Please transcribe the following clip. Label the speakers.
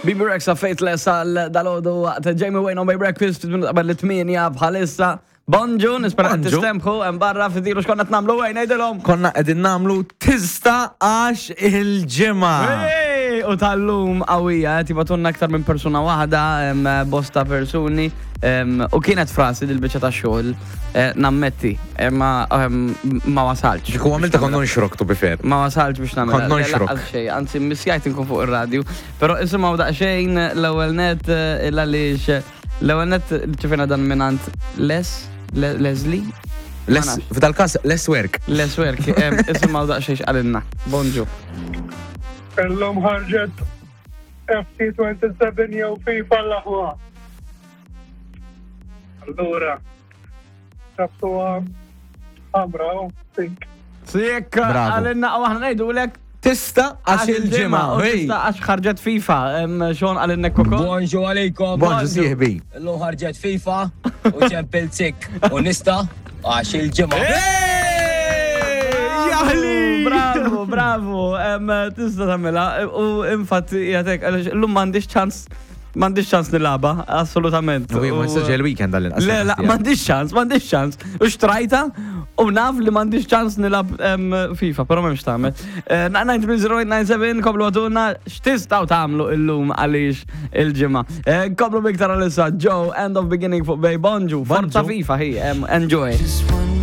Speaker 1: Bibi Rexa Faithless għal dalodu waqt Jamie Wayne on my breakfast fit minuta qabel it-tmienja bħalissa. Bonġu, nispera qed
Speaker 2: Bonġu.
Speaker 1: tistemħu hemm barra fidilu x'konna qed nagħmlu wejn ngħidilhom.
Speaker 2: Konna qegħdin nagħmlu tista għax il-ġimgħa.
Speaker 1: Hey! U tal-lum qawwija, qed jibatunna aktar minn persuna waħda, hemm bosta persuni. U kienet frasi dil-biċċa ta' xogħol, eh, nammetti, eh, ma ma wasalx.
Speaker 2: Kieku għamilta kont nonxrok to be fair.
Speaker 1: Ma wasalx biex nagħmel.
Speaker 2: Kont nonxrok.
Speaker 1: Xejn, anzi missjajt inkun fuq ir-radju. Però isimgħu daqsxejn l-ewwel net eh, il għaliex l-ewwel net ċifina dan minant Les, Leslie. Ma
Speaker 2: Les,
Speaker 1: nafx.
Speaker 2: f'dal każ less work.
Speaker 1: Les Work, isimgħu daqsxejn x'qalilna. Bonġu.
Speaker 3: Illum ħarġet FC27 jew FIFA l-aħwa. Allura, tabtuha ħamra u pink.
Speaker 1: Sik,
Speaker 2: Bravo.
Speaker 1: għalinna u aħna ngħidulek
Speaker 2: Tista għax il-ġimgħa.
Speaker 1: u
Speaker 2: hey.
Speaker 1: tista' għax ħarġet FIFA, xon għalinna koko.
Speaker 4: Bonġu għalikom.
Speaker 2: Bonġu sieħbi.
Speaker 4: Illum ħarġet FIFA u ċempil sik u nista għax il-ġimgħa.
Speaker 2: Jaħli!
Speaker 1: Bravo, bravo, tista tagħmilha u infatti jgħatek għaliex illum m'għandix ċans m'għandix ċans nilagħba, assolutament.
Speaker 2: U ma jistax il-weekend għall-inqas.
Speaker 1: Le, la, m'għandix ċans, m'għandix ċans. U xtrajta u naf li m'għandix ċans nilab FIFA, però m'hemmx tagħmel. Eh, 930 koblu għaduna x'tistgħu tagħmlu illum għaliex il-ġimgħa. Eh, Koblu biktar għalissa Joe, end of beginning fuq Bay Bonġu, forza
Speaker 2: Bonġu.
Speaker 1: FIFA hi, enjoy.